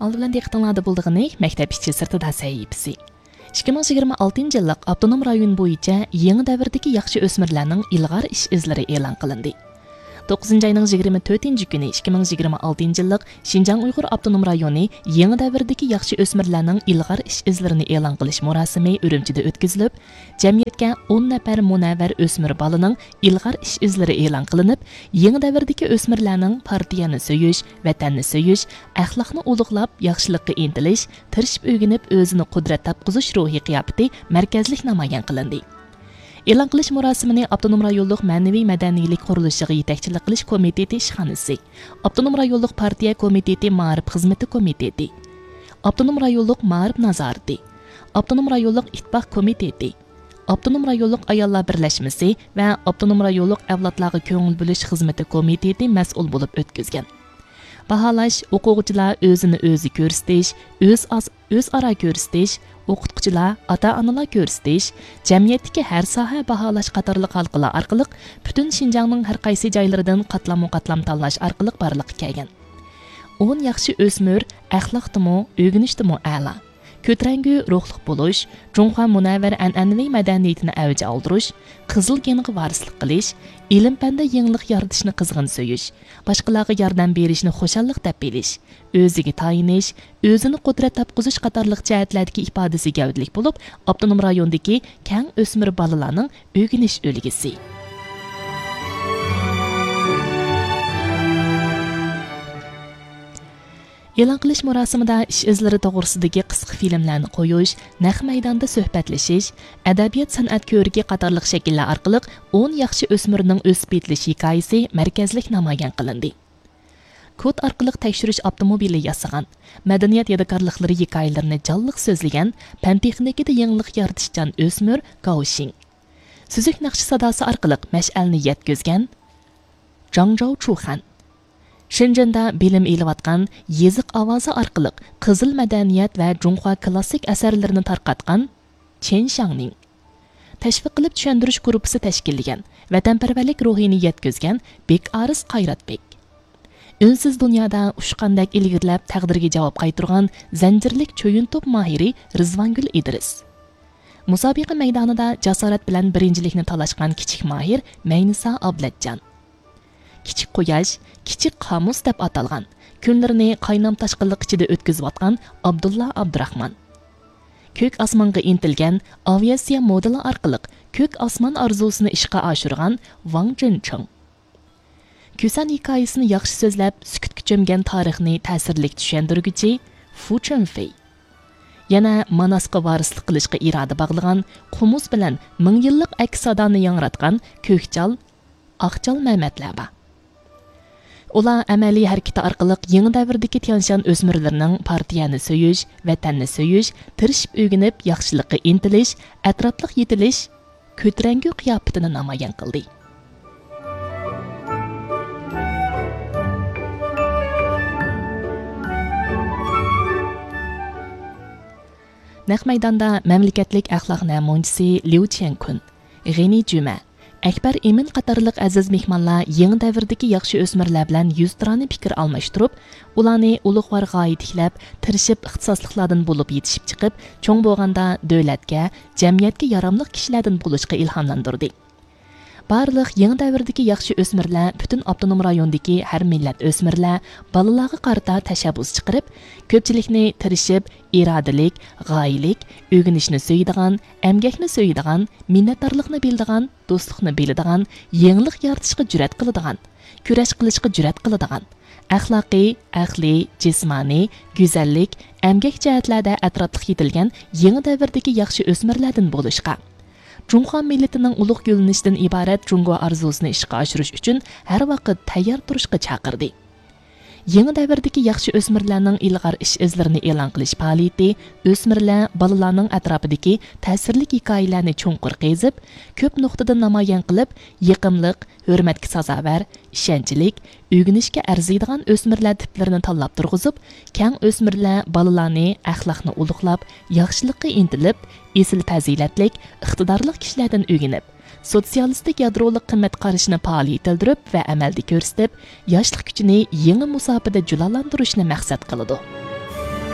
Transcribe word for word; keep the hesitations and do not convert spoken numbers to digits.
ئالدى بىلەن دىققىتىڭلاردا بولىدىغىنى مەكتەپ ئىچى سىرتىدا سەھىپىسى. ئىككى مىڭ يىگىرمە ئالتىنچى يىللىق ئاپتونوم رايون بويىچە يېڭى دەۋردىكى ياخشى ئۆسمۈرلەرنىڭ ئىلغار ئىش ئىزلىرى ئېلان قىلىندى. توققۇزىنچى ئاينىڭ يىگىرمە تۆتىنچى كۈنى ئىككى مىڭ يىگىرمە ئالتىنچى يىللىق شىنجاڭ ئۇيغۇر ئاپتونوم رايونى يېڭى دەۋردىكى ياخشى ئۆسمۈرلەرنىڭ ئىلغار ئىش ئىزلىرىنى ئېلان قىلىش مۇراسىمى ئۈرۈمچىدە ئۆتكۈزۈلۈپ، جەمئىيەتكە ئون نەپەر مۇنەۋۋەر ئۆسمۈر بالىنىڭ ئىلغار ئىش ئىزلىرى ئېلان قىلىنىپ، يېڭى دەۋردىكى ئۆسمۈرلەرنىڭ پارتىيەنى سۆيۈش، ۋەتەننى سۆيۈش، ئەخلاقنى ئۇلۇغلاپ، ياخشىلىققا ئىنتىلىش، تىرىشىپ ئۆگىنىپ، ئۆزىنى قۇدرەت تاپقۇزۇش روھى قىياپىتى مەركەزلىك نامايان قىلىندى. ئېلان قىلىش مۇراسىمىنى ئاپتونوم رايونلۇق مەنىۋى مەدەنىيلىك قۇرۇلۇشىغا يېتەكچىلىك قىلىش كومىتېتى ئىشخانىسى، ئاپتونوم رايونلۇق پارتىيە كومىتېتى مائارىپ خىزمىتى كومىتېتى، ئاپتونوم رايونلۇق مائارىپ نازارىتى، ئاپتونوم رايونلۇق ئىتتىپاق كومىتېتى، ئاپتونوم رايونلۇق ئاياللار بىرلەشمىسى ۋە ئاپتونوم رايونلۇق ئەۋلادلارغا كۆڭۈل بۆلۈش خىزمىتى كومىتېتى مەسئۇل بولۇپ ئۆتكۈزگەن. باھالاش، ئوقۇغۇچىلار ئۆزىنى ئۆزى كۆرسىتىش، ئۆز ئاز-، ئۆزئارا كۆرسىتىش، ئوقۇتقۇچىلار، ئاتا-ئانىلار كۆرسىتىش، جەمئىيەتتىكى ھەر ساھە باھالاش قاتارلىق ھالقىلار ئارقىلىق پۈتۈن شىنجاڭنىڭ ھەر قايسى جايلىرىدىن قاتلاممۇ قاتلام تاللاش ئارقىلىق بارلىققا كەلگەن. ئون ياخشى ئۆسمۈر ئەخلاقتىمۇ، ئۆگىنىشتىمۇ ئەلا. كۆتۈرەڭگۈ روھلۇق بولۇش، جۇڭخۇا مۇنەۋۋەر ئەنئەنىۋى مەدەنىيىتىنى ئەۋج ئالدۇرۇش، قىزىل گېنغا ۋارىسلىق قىلىش، ئىلىم-پەندە يېڭىلىق يارىتىشنى قىزغىن سۆيۈش، باشقىلارغا ياردەم بېرىشنى خۇشاللىق دەپ بىلىش، ئۆزىگە تايىنىش، ئۆزىنى قۇدرەت تاپقۇزۇش قاتارلىق جەھەتلەردىكى ئىپادىسى گەۋدىلىك بولۇپ، ئاپتونوم رايوندىكى كەڭ ئۆسمۈر بالىلارنىڭ ئۆگىنىش ئۈلگىسى. ئېلان قىلىش مۇراسىمىدا ئىش ئىزلىرى توغرىسىدىكى قىسقا فىلىملارنى قويۇش، نەق مەيداندا سۆھبەتلىشىش، ئەدەبىيات-سەنئەت كۆرىكى قاتارلىق شەكىللەر ئارقىلىق ئون ياخشى ئۆسمۈرنىڭ ئۆسۈپ يېتىلىش ھېكايىسى مەركەزلىك نامايان قىلىندى. كود ئارقىلىق تەكشۈرۈش ئاپتوموبىلى ياسىغان، مەدەنىيەت يادىكارلىقلىرى ھېكايىلىرىنى جانلىق سۆزلىگەن، پەن-تېخنىكىدا يېڭىلىق يارىتىشچان ئۆسمۈر گاۋشىڭ. سۈزۈك ناخشا ساداسى ئارقىلىق مەشئەلنى يەتكۈزگەن جاڭجاۋ چۇخەن. شېنجېندا بىلىم ئېلىۋاتقان، يېزىق ئاۋازى ئارقىلىق قىزىل مەدەنىيەت ۋە جۇڭخۇا كلاسسىك ئەسەرلىرىنى تارقاتقان چېن شياڭنىڭ. تەشۋىق قىلىپ چۈشەندۈرۈش گۇرۇپپىسى تەشكىللىگەن، ۋەتەنپەرۋەرلىك روھىنى يەتكۈزگەن بېكئارىس قايراتبېك. ئۈنسىز دۇنيادا ئۇچقاندەك ئىلگىرىلەپ، تەقدىرگە جاۋاب قايتۇرغان زەنجىرلىك چويۇن توپ ماھىرى رىزۋانگۈل ئىدرىس. مۇسابىقە مەيدانىدا جاسارەت بىلەن بىرىنچىلىكنى تالاشقان كىچىك ماھىر مەينىسا ئابلەتجان. كىچىك قۇياش، كىچىك قامۇس دەپ ئاتالغان، كۈنلىرىنى قاينام تاشقىنلىق ئىچىدە ئۆتكۈزۈۋاتقان ئابدۇللا ئابدۇراخمان. كۆك ئاسمانغا ئىنتىلگەن، ئاۋىئاتسىيە مودېلى ئارقىلىق كۆك ئاسمان ئارزۇسىنى ئىشقا ئاشۇرغان ۋاڭ جېنچىڭ. كۈسەن ھېكايىسىنى ياخشى سۆزلەپ، سۈكۈتكە چۆمگەن تارىخنى تەسىرلىك چۈشەندۈرگۈچى فۇ چۈنفېي. يەنە ماناسقا ۋارىسلىق قىلىشقا ئىرادە باغلىغان، قومۇس بىلەن مىڭ يىللىق ئەكس سادانى ياڭراتقان كۆكچال، ئاقچال مەمەتلەر بار. ئۇلار ئەمەلىي ھەرىكىتى ئارقىلىق يېڭى دەۋردىكى تيەنشان ئۆسمۈرلىرىنىڭ پارتىيەنى سۆيۈش، ۋەتەننى سۆيۈش، تىرىشىپ ئۆگىنىپ، ياخشىلىققا ئىنتىلىش، ئەتراپلىق يېتىلىش، كۆتۈرەڭگۈ قىياپىتىنى نامايان قىلدى. نەق مەيداندا مەملىكەتلىك ئەخلاق نەمۇنىچىسى ليۇ چيەنكۈن، غېنى جۈمە، ئەكبەر ئىمىن قاتارلىق ئەزىز مېھمانلار يېڭى دەۋردىكى ياخشى ئۆسمۈرلەر بىلەن يۈزتۇرانە پىكىر ئالماشتۇرۇپ، ئۇلارنى ئۇلۇغۋار غايە تىكلەپ، تىرىشىپ ئىختىساسلىقلاردىن بولۇپ يېتىشىپ چىقىپ، چوڭ بولغاندا دۆلەتكە، جەمئىيەتكە ياراملىق كىشىلەردىن بولۇشقا ئىلھاملاندۇردى. بارلىق يېڭى دەۋردىكى ياخشى ئۆسمۈرلەر پۈتۈن ئاپتونوم رايوندىكى ھەر مىللەت ئۆسمۈرلەر، بالىلارغا قارىتا تەشەببۇس چىقىرىپ، كۆپچىلىكنى تىرىشىپ، ئىرادىلىك، غايىلىك، ئۆگىنىشنى سۆيىدىغان، ئەمگەكنى سۆيىدىغان، مىننەتدارلىقنى بىلىدىغان، دوستلۇقنى بىلىدىغان، يېڭىلىق يارىتىشقا جۈرئەت قىلىدىغان، كۈرەش قىلىشقا جۈرئەت قىلىدىغان، ئەخلاقىي، ئەقلىي، جىسمانىي، گۈزەللىك، ئەمگەك جەھەتلەردە ئەتراپلىق يېتىلگەن يېڭى دەۋردىكى ياخشى ئۆسمۈرلەردىن بولۇشقا، جۇڭخۇا مىللىتىنىڭ ئۇلۇغ گۈللىنىشىدىن ئىبارەت جۇڭگو ئارزۇسىنى ئىشقا ئاشۇرۇش ئۈچۈن ھەر ۋاقىت تەييار تۇرۇشقا چاقىردى. يېڭى دەۋردىكى ياخشى ئۆسمۈرلەرنىڭ ئىلغار ئىش ئىزلىرىنى ئېلان قىلىش پائالىيىتى ئۆسمۈرلەر، بالىلارنىڭ ئەتراپىدىكى تەسىرلىك ھېكايىلەرنى چوڭقۇر قېزىپ، كۆپ نۇقتىدىن نامايان قىلىپ، يېقىملىق، ھۆرمەتكە سازاۋەر، ئىشەنچلىك، ئۆگىنىشكە ئەرزىيدىغان ئۆسمۈرلەر تىپلىرىنى تاللاپ تۇرغۇزۇپ، كەڭ ئۆسمۈرلەر بالىلارنى ئەخلاقنى ئۇلۇغلاپ، ياخشىلىققا ئىنتىلىپ، ئېسىل پەزىلەتلىك، ئىقتىدارلىق كىشىلەردىن ئۆگىنىپ، سوتسىيالىستىك يادرولۇق قىممەت قارىشىنى پائال يېتىلدۈرۈپ ۋە ئەمەلدە كۆرسىتىپ، ياشلىق كۈچىنى يېڭى مۇساپىدە جۇلالاندۇرۇشنى مەقسەت قىلىدۇ.